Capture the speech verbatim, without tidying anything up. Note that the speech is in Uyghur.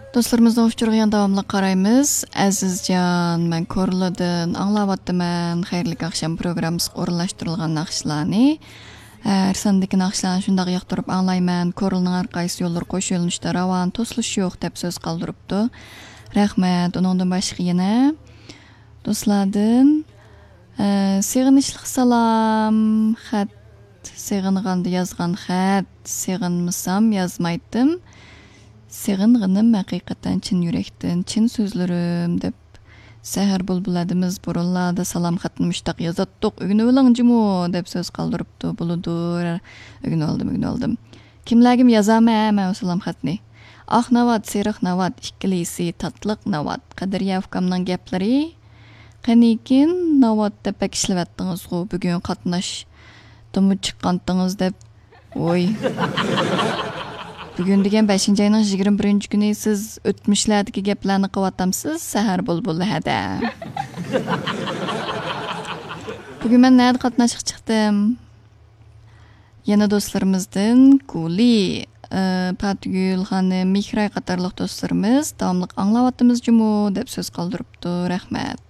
دوستلىرىمىزنىڭ ئۇچۇرىغا يەنە داۋاملىق قارايمىز. ئەزىزجان، مەن كورلىدىن ئاڭلاۋاتىمەن. خەيرلىك ئاخشام پروگراممىسىغا ئورۇنلاشتۇرۇلغان ناخشىلارنى. ھەر ساندىكى ناخشىلارنى شۇنداق ياقتۇرۇپ ئاڭلايمەن. كورلىنىڭ ھەر قايسى يوللىرى قوش يۆنىلىشتە راۋان، توسۇلۇش يوق، دەپ سۆز قالدۇرۇپتۇ. رەھمەت. ئۇنىڭدىن باشقا يەنە دوستلاردىن، ئە، سېغىنىشلىق سالام، خەت، سېغىنغاندا يازغان خەت، سېغىنمىسام يازمايتتىم. سېغىنغىنىم ھەقىقەتەن چىن يۈرەكتىن، چىن سۆزلىرىم، دەپ. سەھەر بۇلبۇل ھەدىمىز بۇرۇنلاردا سالام خەتنى مۇشتاق يازاتتۇق، ئۆگىنىۋېلىڭ جۇمۇ، دەپ سۆز قالدۇرۇپتۇ. بولىدۇ، ئۆگىنىۋالدىم، ئۆگىنىۋالدىم. كىملەرگىمۇ يازامەن مەن ئۇ سالام خەتنى. ئاق ناۋات، سېرىق ناۋات، ئىككىلىسى تاتلىق ناۋات. قەدرىيە ئۇكامنىڭ گەپلىرى. قېنىكىن ناۋات دەپ بەك ئىشلىۋەتتىڭىزغۇ، بۈگۈن قاتناشتىمۇ چىققانتىڭىز دەپ. ۋوي. بۈگۈن دېگەن بەشىنچى ئاينىڭ يىگىرمە بىرىنچى كۈنى، سىز ئۆتمۈشلەردىكى گەپلەرنى قىلىۋاتامسىز، سەھەر بۇلبۇلى ھەدە. بۈگۈن مەن نەدە قاتناشقا چىقتىم؟ يەنە دوستلىرىمىزدىن گۈلى، ئى، پاتىگۈل خانىم، مېھراي قاتارلىق دوستلىرىمىز داۋاملىق ئاڭلاۋاتىمىز جۇمۇ دەپ سۆز قالدۇرۇپتۇ. رەھمەت.